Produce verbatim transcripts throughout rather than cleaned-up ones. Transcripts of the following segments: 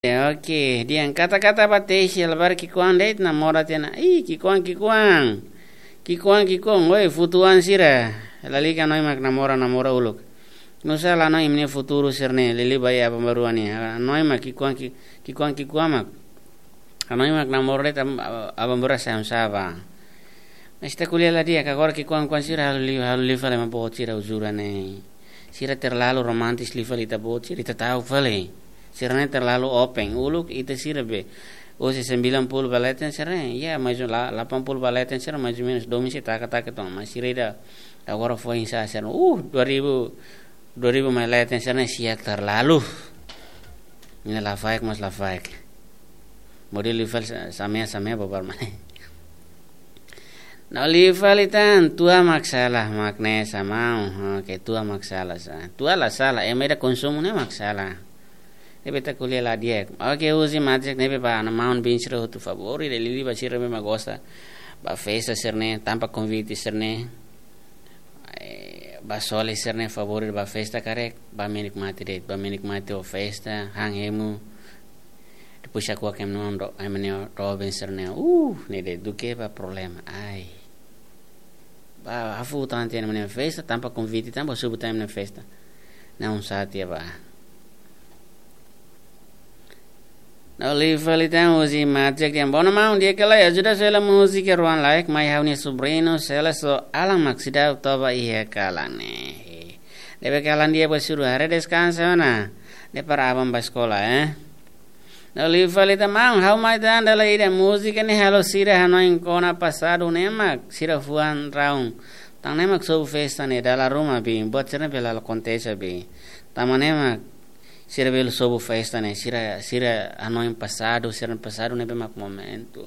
Oke, dehan kata-kata ba Tesi, labarik ki'ikoan de'it namora tiha ona. Ih, ki'ikoan, ki'ikoan. Ki'ikoan, ki'ikoan, oi, futu-oan sira. Lalika hanoin mak namora, namora uluk. Nusá la hanoin imi-nia futuru sira-ne'e, liuliu ba iha aban-bainrua ne'e. Hanoin mak ki'ikoan, ki-, ki'ikoan, ki'ikoan mak. Hanoin mak namora de'it, aban-bainrua sai hanesan ba. Mas ita ko'alia la di'ak, agora ki'ikoan-ki'ikoan sira halo liu, halo liu fali ema boot sira uzuran ne'e. Sira terlalu romantis liu fali ita boot sira, ita ta'uk fali. Sira-ne'e terlalu open, uluk ita sira be. Husi sembilan puluh ba leten sira-ne'e, ya, mais ou-, la-, delapan puluh ba leten sira, mais ou menus domin sei taka-taka tiha ona, mas sira ida agora foin sa'e sira. Uh, dua ribu, dua ribu mai leten sira-ne'e sia terlalu. Ne'e lafaek, mas lafaek. Modelu liu fali sa-, samea, samea babar mai. No liu fali tan, tua mak sala, mak ne'e sá maun. Oke, tua mak sala sá. Tua la sala, ema ida konsumu ne'e mak sala. Ne'ebé ita ko'alia la di'ak. Oke, husi Matek ne'ebé ba ha'u-nia maun-bin sira hotu favór, ida liuliu ba sira ne'ebé mak gosta ba festa sira-ne'e, tanba konvite sira-ne'e. Eh, ba soli sira-ne'e favór ba festa karik, ba menikmati de'it, ba menikmati ho festa, han hemu. Depois aku akan menonton, ai menio Robin sira-ne'e. Uh, ne'e de'it duké ba problema. Ai. Ba, hafu tan tiha ema nia festa, tanba konvite, tanba subu tan ema nia festa. Não sabe ba. No liu fali tan husi Matek dehan: "Bono maun, di'ak ka lae, ajuda sela múzika Ruan Laek, mai ha'u-nia sobriñu, sela so Alan mak seidauk toba iha kalan ne'e. Ne'ebé kalan di'ak ba suru haree deskansa ona. Depara aban ba eskola, eh." No liu fali tan maun, ha'u mai tan dala ida múzika ne'e halo sira hanoin kona pasadu ne'e mak sira fuan raun. Tan ne'e mak sobu festa ne'e dala ruma bi, buat sira ne'e bele la akontese bi. Tanba ne'e mak sira bele sobu festa ne'e, sira, sira hanoin pasadu, sira pasadu ne'ebé mak momentu.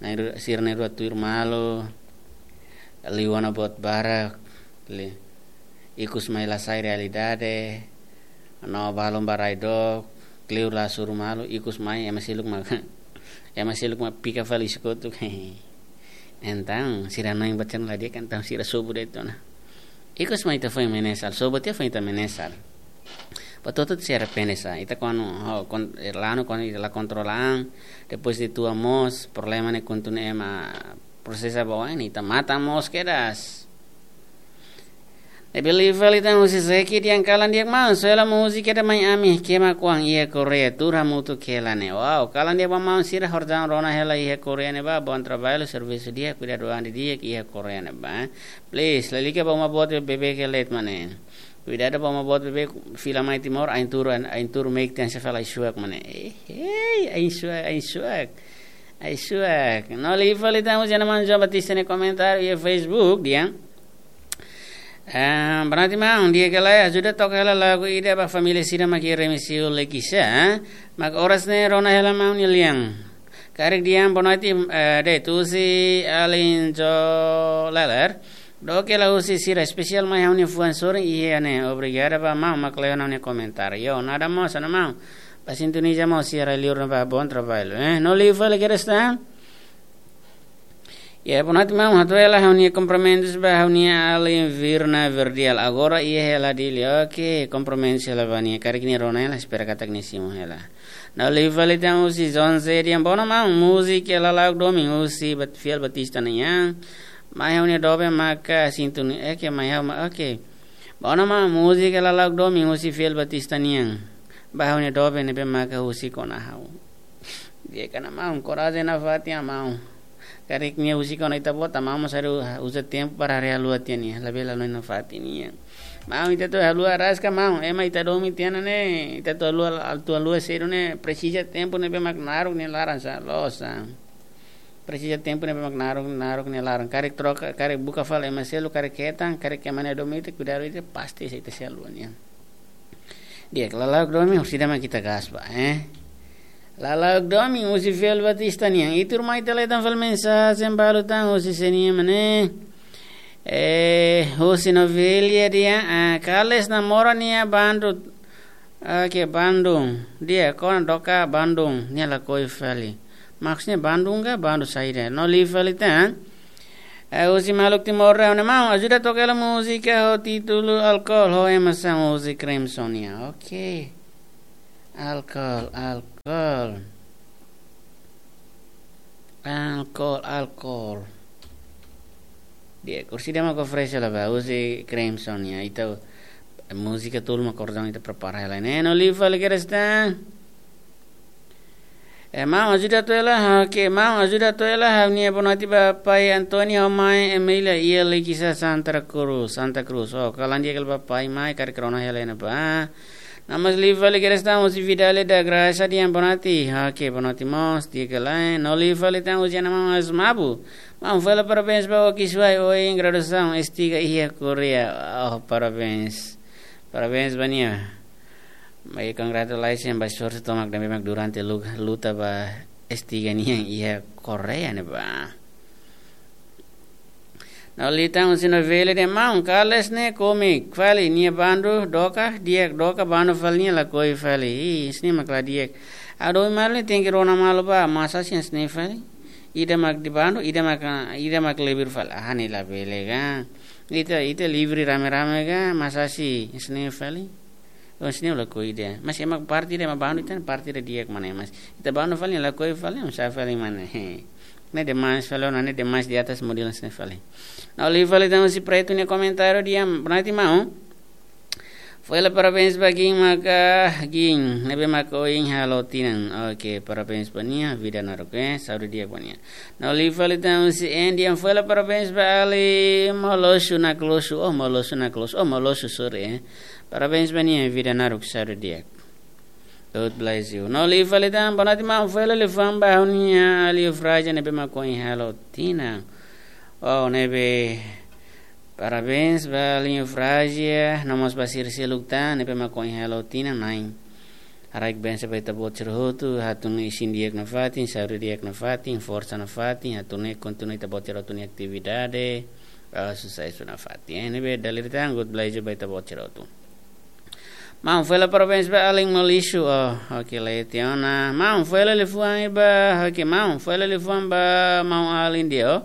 Na'in-rua, sira na'in-rua tuir malu, liu ona buat barak, li-, ikus mai la sai realidade, no balun ba rai dook, kleur la suru malu, ikus mai ema seluk mak, ema seluk mak pika fali ikus kotuk. Entaun, sira hanoin buat sira ne'e la di'ak, entaun sira sobu de'it ona. Ikus mai ita foin menesal, sobu tiha foin ita menesal. Ba to'o ita sei arrepende sá, ita kuandu, ho, kon-, eh, lanu kuandu ita la kontrola an, depois de tua mós, problema ne'e kontinua ema prosesa ba oin, ita matan mós kedas. Ne'ebé liu fali tan husi Zeki dehan: "Kalan di'ak maun, sela múzika ida mai ami, kema kuan iha Korea, tuur hamutuk hela ne'e." Wow, kalan di'ak ba maun sira, obrigadu rona hela iha Korea ne'ebá, bom trabalho, servisu di'ak, kuidadu an didi'ak iha Korea ne'ebá. Please, lalika ba uma boot beibeik iha leet mak ne'e. Kuidadu ba uma boot beibeik, fila mai Timor, ain tuur, ain tuur meik tiha ona, sei fala ai-suak mak ne'e. Eh, eh, ai-suak, ai-suak. Ai-suak. No liu fali tan husi ha'u-nia maun João Batista nia komentáriu iha Facebook dehan: "Ah, boa noite maun, di'ak ka lae, ajuda toka hela lagu ida ba família sira mak iha Remexio Lekisá, mak oras ne'e rona hela maun nia lian." Karik dehan boa noite, eh, de'it husi Alin Jo Leler. Doke la husi sira, espesiál mai ha'u-nia fuan sorin iha ne'e. Obrigadu ba maun mak lee ona ha'u-nia komentáriu. Yo, nada mós, nada maun. Ba sintoniza mós sira liur ne'ebá, bom trabalho, eh. No liu fali kedas tan. Ya, boa noite maun, hato'o hela ha'u-nia kumprimentus ba ha'u-nia alin Virna Verdial. Agora iha hela Dili. Oke, kumprimentus hela ba nia. Karik nia rona hela, espera katak nia simu hela. No liu fali tan husi Zonze dehan: "Bono maun, múzika Lala'ok Domin husi Bat-, Fiel Batista nian. Mai ha'u-nia doben maka sintoniza, oke, mai ha'u ma-, oke. Bono maun, múzika Lala'ok Domin husi Fiel Batista nian. Ba ha'u-nia doben ne'ebé maka husik ona ha'u." Di'ak ona maun, korajen nafatin maun. Karik nia husik ona ita-boot, maun mós haree, uza tempu para haree haluha tiha nia, labele halo nafatin nia. Maun, ita atu haluha rasik maun, ema ita domin tiha ona ne'e, ita atu haluha, atu haluha sedu ne'e, presiza tempu ne'ebé mak naruk nia laran sá, loos sá. Presiza tempu ne'ebé mak naruk, naruk nia laran. Karik troka, karik buka fali ema seluk, karik hetan, karik ema ne'e domin ita, kuidadu ita, pasti sei ita sei haluha nia. Di'ak, Lala'ok Domin, orsida mak ita gas ba, eh? Lala'ok Domin husi Fiel Batista nian. Ita ruma ita lee tan fali mensajen balu tan husi sé nian mak ne'e. Eh, husi Novelia dehan, ah, Kales namora nia bandu, ah, ke Bandung. Di'ak, kona doka Bandung, nia lakohi fali. Maksudnya Bandung ka, bandu saida? No liu fali tan. Eh, husi maluk Timor dehan: "Maun, ajuda toka hela múzika ho títulu Alkol, ho ema sá, husi Crimson nian." Oke. Alkol, al-, Alcohol. Alcohol, alcohol. Di'ak, orsida mak oferese la ba, husi Crimson ya. Ita múzika tolu mak kordon ita prepara hela ne'e. No liu fali kedas tan. Eh, maun ajuda to'o hela, oke, maun ajuda to'o hela, ha'u-nia bonoite ba pai António ho mãe Emília iha Likisá, Santa Cruz, Santa Cruz. Oh, kalan di'ak hela ba pai, mãe, karik rona hela ne'ebá. No mós liu fali kedas tan husi Vidale da Graça, dehan bonoite. Oke, bonoite mós, di'ak ka lae. No liu fali tan husi Ana Maun Asmabu. Maun, fó hela parabéns ba Oki Suai ohin graduasaun S tiga iha Koreia. Oh, parabéns. Parabéns ba nia. Mai congratulations ba esforsu tomak ne'ebé mak durante lu-, luta ba S tiga nian iha Koreia ne'ebá. No liu tan husi Novela, dehan maun, kales ne'e kómiku fali, nia bandu dook, di'ak dook, bandu fali nia lakohi fali. Ih, hanesan ne'e mak la di'ak. Hadomi malu ne'e tenke rona malu ba, masa hanesan ne'e fali. Ida mak dehan bandu, ida mak, ida mak lebur fali. Ah, ne'e labele ka. Ita, ita livre rame-rame ka, masa hanesan ne'e fali. Oh, hanesan ne'e lakohi ida. Mas ema parte ida mak bandu, ita parte ida di'ak mak ne'e, mas ita bandu fali lakohi fali, oinsá fali mak ne'e. Ne'e demais fali, oh, ne'e demais di atas model hanesan ne'e fali. No liu fali tan husi Preto nia komentáriu, dehan bonoite maun. Fó hela parabéns ba Gin maka, Gin ne'ebé maka ohin halo tinan. Oke, parabéns ba nia, vida naruk, eh, saúde di'ak ba nia. No liu fali tan husi Andy, dehan fó hela parabéns ba alin Molosu Naklosu. Oh, Molosu Naklosu. Oh, Molosu, sorry, eh. Parabéns ba nia, vida naruk, saúde di'ak. God bless you. No liu fali tan, bonoite maun, fó hela liafuan ba ha'u-nia alin Eufrazia ne'ebé mak ohin halo tinan. Oh, ne'ebé, parabéns ba alin Eufrazia, no mós ba sira seluk tan ne'ebé mak ohin halo tinan, na'in. Haraik bensa ba ita-boot sira hotu, hatún isin di'ak nafatin, saúde di'ak nafatin, forsa nafatin, hatún ne'e kontinua ita-boot sira hotu nia atividade, ah, susesu nafatin. Eh, ne'ebé dala ida tan, God bless you ba ita-boot sira hotu. Maun, fó hela parabéns ba alin Molisu, oh, oke, leti ona. Maun, fó hela liafuan ba, oke, maun, fó hela liafuan ba maun alin ida, oh.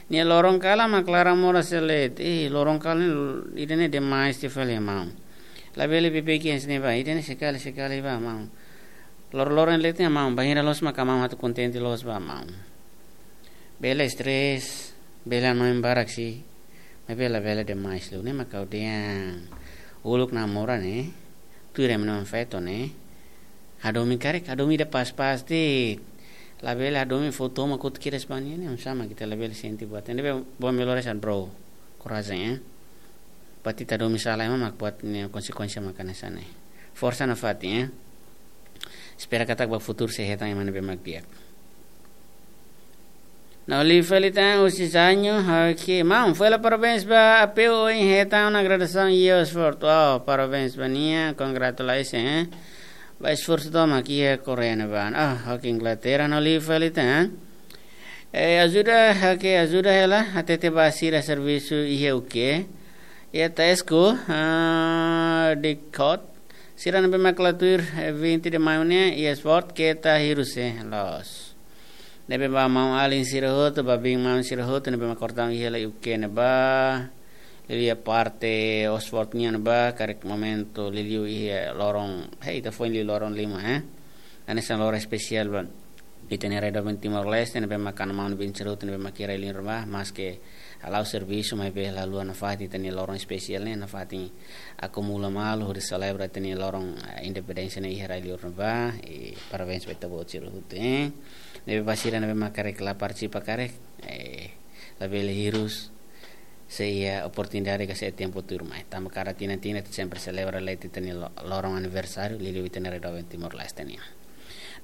Nia loron kalan mak laran moras de'it. Eh, loron kalan ne'e, ida-ne'e demais tiha fali, maun. Labele beibeik hanesan ne'e ba, ida-ne'e sekali-sekali ba, maun. Loron-loron leti, maun, bainhira loos maka maun atu kontente loos ba, maun. Bele stress, bele hanoin barak sih. Maibé labele demais liu, ne'e mak ha'u dehan. Uluk namora ne'e, tuir ema-nia feto ne'e. Hadomi karik, hadomi ida pas-pas de'it. Labele hadomi fó tomak kotuk kedas ba nia ne'e, oinsá mak ita labele sente buat. Ne'ebé, bom, melhor essa, bro. Korajen, eh. Buat ita hadomi sala ema mak buat nia konsekuénsia mak hanesan ne'e. Forsa nafatin, eh. Espera katak ba futuru sei hetan ema ne'ebé mak di'ak. No liu fali tan husi Zanho, oke. Maun, fó hela parabéns ba Apeu ohin hetan ona graduasaun iha Oxford. Oh, parabéns ba nia, congratulations, eh. Ba esforsu tomak iha Koreia ne'ebá. Ah, oke, Inglaterra, no liu fali tan. Eh, ajuda, oke, ajuda hela, hatete ba sira servisu iha U K. Iha Tesco, ah, Didcot. Sira ne'ebé mak la tuir, eh, vinte de maio ne'e, iha Oxford, keta hirus, eh, loos. Ne'ebé ba maun-alin sira hotu, ba biin-maun sira hotu, ne'ebé mak kordon iha hela U K ne'ebá. Liuliu parte Oxford nian ne'ebá, karik momentu liuliu iha loron, hei, ita foin liu loron lima, eh. Hanesan loron espesiál ba ita-nia rai doben Timor-Leste, ne'ebé mak maun-alin sira hotu, ne'ebé mak iha rai liur ne'ebá, maske hala'o servisu, maibé la haluha nafatin ita-nia loron espesiál ne'e, nafatin akumula malu, hodi selebra ita-nia loron, eh, independénsia ne'e iha rai liur ne'ebá, i parabéns ba ita-boot sira hotu, eh. Ne'ebé ba sira ne'ebé mak karik la partisipa karik, eh, labele hirus, sei iha oportunidade ka sei iha tempu tuirmai. Tanba kada tinan-tinan ita sempre selebra leti ita-nia lo-, loron aniversáriu, liuliu ita-nia rai doben Timor-Leste nian.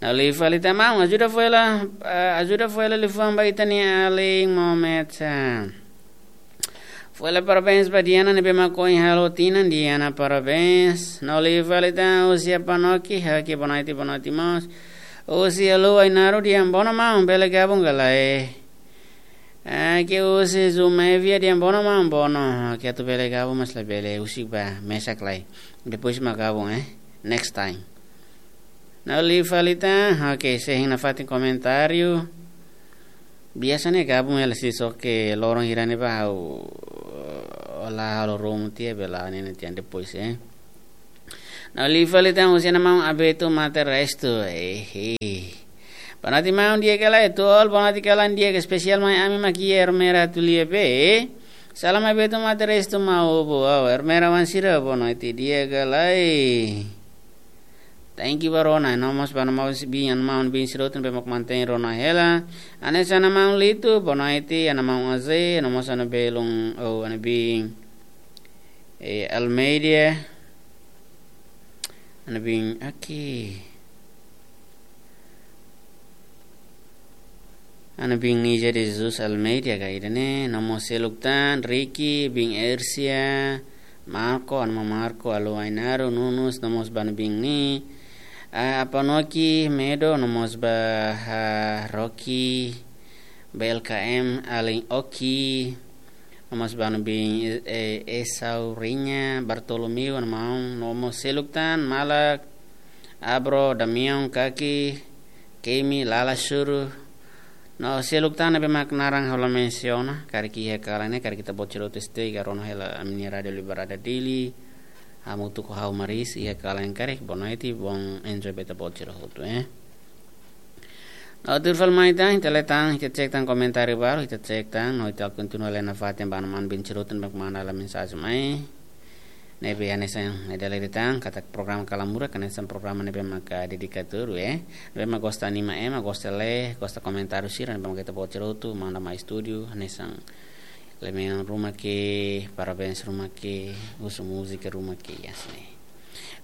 No liu fali tan maun, ajuda fó hela, eh, ajuda fó hela liafuan ba ita-nia alin Mohamed Sa. Fó hela parabéns ba Diana ne'ebé mak ohin halo tinan, Diana parabéns. No liu fali tan husi Apanoki, oke, bonoite, bonoite mós. Husi Alu Ainaru, dehan bono maun, bele gabung ka lae. Ah, oke, husi Zumevia, dehan bono maun, bono. Oke, atu bele gabung mas labele, husik ba, mesak lai. Depois mak gabung, eh. Next time. No liu fali tan, oke, sei hein nafatin komentáriu. Biasa ne'e gabung hela sih, só ke loron hira ne'ebá ha'u la halo ruma tiha, bele hein tiha depois, eh. No liu fali tan husi maun Abeto Mate Restu. Ehe. Bonoite maun, di'ak ka lae? Tuir, bonoite kalan di'ak, espesiál mai ami mak iha Ermera atu lia be. Salam Abeto Mate Restu, maun Obo. Au, Ermera wan sira, bonoite, di'ak ka lae? Thank you ba rona, no mós ba maun bin, maun bin sira hotu ne'ebé mak mantein rona hela. Hanesan maun Litu, bonoite, maun Aze, no mós maun Belun, oh, maun bin. Eh, Almeida. Maun bin, oke. Maun bin Nija de Jesus Almeida ka ida-ne'e, no mós seluk tan, Ricky, bin Ersia, Marco, maun Marco, Alu Ainaro, Nunus, no mós ba maun bin ni, ah, Apanoki, Medo, no mós ba, ah, Rocky, B L K M, Alin Oki, no mós ba maun bin, eh, Esau Rinya, Bartolomeu, maun, no mós seluk tan, Malak, Abro, Damião, Kaki, Kemi, Lala Suru, no seluk tan ne'ebé mak naran ha'u la mensiona, karik iha kalan ne'e, karik ita-boot sira hotu stay ka rona hela ami-nia Rádio Liberdade Dili, hamutuk ho ha'u Maris, iha kalan ne'e karik, bonoite, bom enjoy ba ita-boot sira hotu, eh. No tuir fali mai tan, ita lee tan, ita cek tan komentáriu balu, ita cek tan, no ita kontinua lee nafatin ba maun bin sira hotu ne'ebé mak manda hela mensajen mai. Ne'ebé hanesan ita lee tan, katak programa Kala Murak, hanesan programa ne'ebé maka dedikadu, eh. Ne'ebé mak gosta anima ema, gosta lee, gosta komentáriu sira, ne'ebé maka ita-boot sira hotu, manda mai estúdiu, hanesan lee-mean ruma ke, parabéns ruma ke, husu múzika ruma ke, ya sini.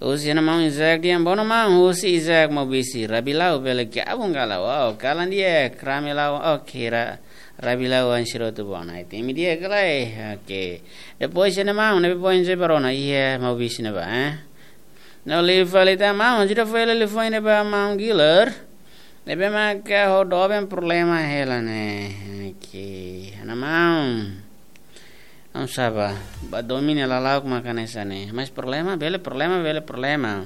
Husi maun Isaac Diambono, maun, husi Isaac Maubisi, Rabilau bele gabung ka lae? Wow, kalan di'ak, Rabilau, oke, Ra-, Rabilau wan sira hotu, bonoite, ami di'ak ka lae? Oke. Depois maun, ne'ebé poin se barona, iha Maubisi ne'ebá, eh? No liu fali tan maun, ajuda fó hela liafuan ida ba maun Giler. Ne'ebé maka ho doben problema hela ne'e. Oke, ha'u-nia maun. Maun sá ba, ba domin ne'e lala'ok maka hanesan ne'e. Mas problema, bele problema, bele problema.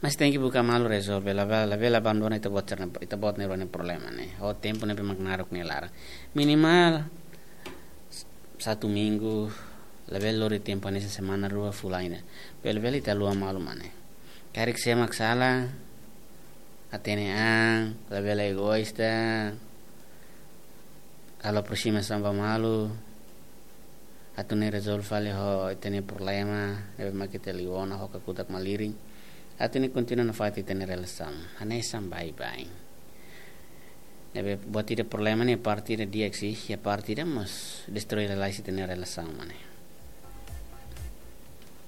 Mas tenke buka malu rezolve, labele, labele abandona ita-boot sira-nia, ita-boot nia rua nia problema ne'e. Ho tempu ne'ebé mak naruk nia laran. Minimal, satu minggu, labele lori tempu hanesan semana rua fulan ida. Bele-bele ita haluha malu mak ne'e. Karik sé mak sala, hatene an, labele egoísta, halo aproximasaun ba malu, atu nune'e rezolve fali ho ita-nia problema, ne'ebé mak ita liu ona ho kakutak malirin. Atu nune'e kontinua nafatin ita-nia relasaun. Hanesan baibain. Ne'ebé buat ida problema ne'e parte ida di'ak sih, iha parte ida mós destroi lalais ita-nia relasaun mak ne'e.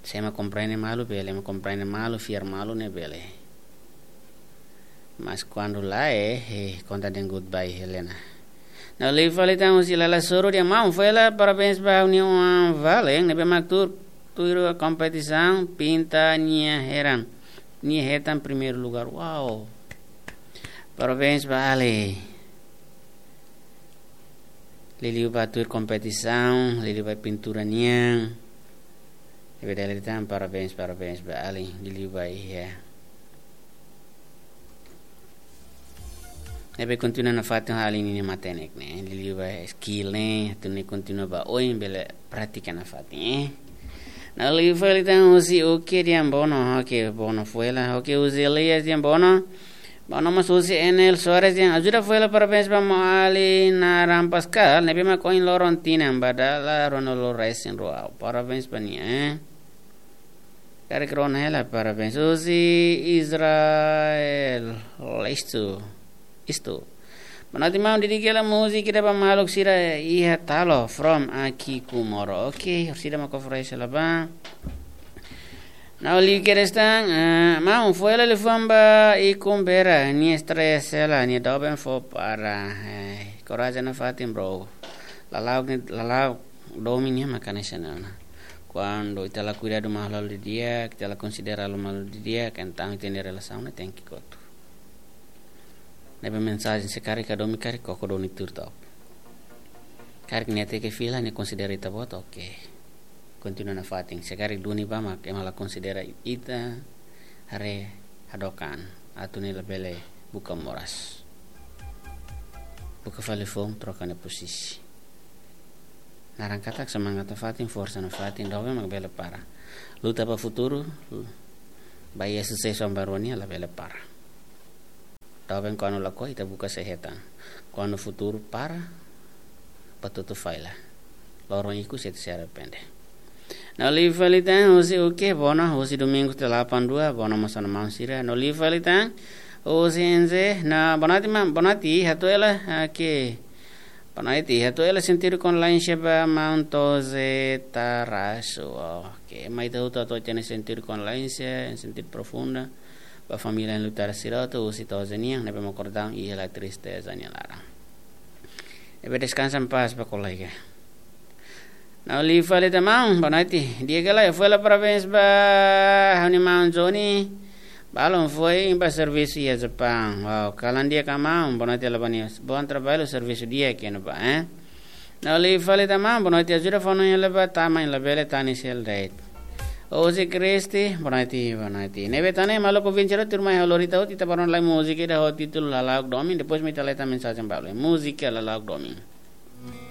Sé mak komprende malu bele, ema komprende malu, fiar malu ne'e bele. Mas kuandu lae, eh, konta dehan goodbye, Helena. No liu fali tan husi Lala Suru, dia maun, fó hela parabéns ba ha'u-nia oan Valen, ne'ebé mak tuir, tuir kompetisaun pinta nia hetan, nia hetan primeiru lugár. Wow. Parabéns ba Ale. Liuliu ba tuir kompetisaun, liuliu ba pintura nian. Ne'ebé dala ida tan, parabéns, parabéns ba Ale. Liuliu ba iha. Ne'ebé kontinua nafatin ho Ale ninia matenek ne'e. Liuliu ba skill ne'e, atu nune'e kontinua ba oin bele pratika nafatin, eh. No liu fali tan husi Oke Diambono, Oke Bono fó hela, Oke husi Elias Diambono. Bono mós husi Enel Soares, yang ajuda fó hela parabéns ba maun Ali Naran Pascal, ne'ebé mak ohin loron tinan ba dala ruanulu resin rua. Parabéns ba nia, eh. Karik rona hela parabéns. Husi Israel, isto, isto. Bonoite maun, dedika hela múzika ida ba maluk sira iha Talo, from Aki Kumoro. Oke, orsida mak oferese hela ba. No liu kedas tan, eh, maun, fó hela liafuan ba Ikun Bera, nia stres hela, nia doben fó para. Eh, korajen nafatin, bro. Lala'ok ne'e, lala'ok domin ne'e maka hanesan ne'e ona. Kuandu ita la kuidadu malu-malu didi'ak, ita la konsidera malu-malu didi'ak, entaun ita-nia relasaun ne'e tenke kotu. Ne'ebé mensajen se karik ka domin karik koko duni tuur to'ok. Karik nia hateke fila, nia konsidera ita-boot, oke. Kontinua nafatin. Se karik duni ba mak ema la konsidera ita, haree hadook an. Atu nune'e labele buka moras. Buka fali foun, troka nia posisi. Naran katak semangat nafatin, forsa nafatin, doben mak bele para. Luta ba futuru, lu-, Ba iha susesu bainrua nian labele para. Doben kuandu lakohi ita buka sei hetan. Kuandu futuru para, batutu fali. Loron ikus ita sei arrepende. No liu fali tan, husi Uke, bona, husi Domingo delapan dua, bona mós ona maun sira. No liu fali tan, husi N Z, no, boa noite, maun, boa noite, hatuela, oke. Boa noite, hatuela sentidu Conlência ba maun Toze Tarasu. Oke, mai ita hotu atu hatene sentidu Conlência, sentidu profunda. Ba família lutar sira hotu, husi Toze nian, ne'ebé mak kordaun, iha la tristeza nia laran. Ne'ebé descansa em paz ba kolega. No liu fali tan maun, boa noite. Di'ak ka lae, hatuela parabéns ba ha'u-nia maun Johnny. Balun foin ba servisu iha Japaun. Wow, kalan di'ak ka maun, boa noite, labanius. Bom trabalho, servisu di'ak iha ne'ebá, eh? No liu fali tan maun, boa noite, ajuda fó-hanoin hela ba tama nia labele tani sel date. Husi Kristi, boa noite, boa noite. Ne'ebé tan ne'e, maluk ouvinte sira, tuirmai ha'u lori ita hotu, ita bá rona lai múzika ida ho títulu Lala'ok Domin, depois mai ita hetan mensajen balu. Múzika Lala'ok Domin.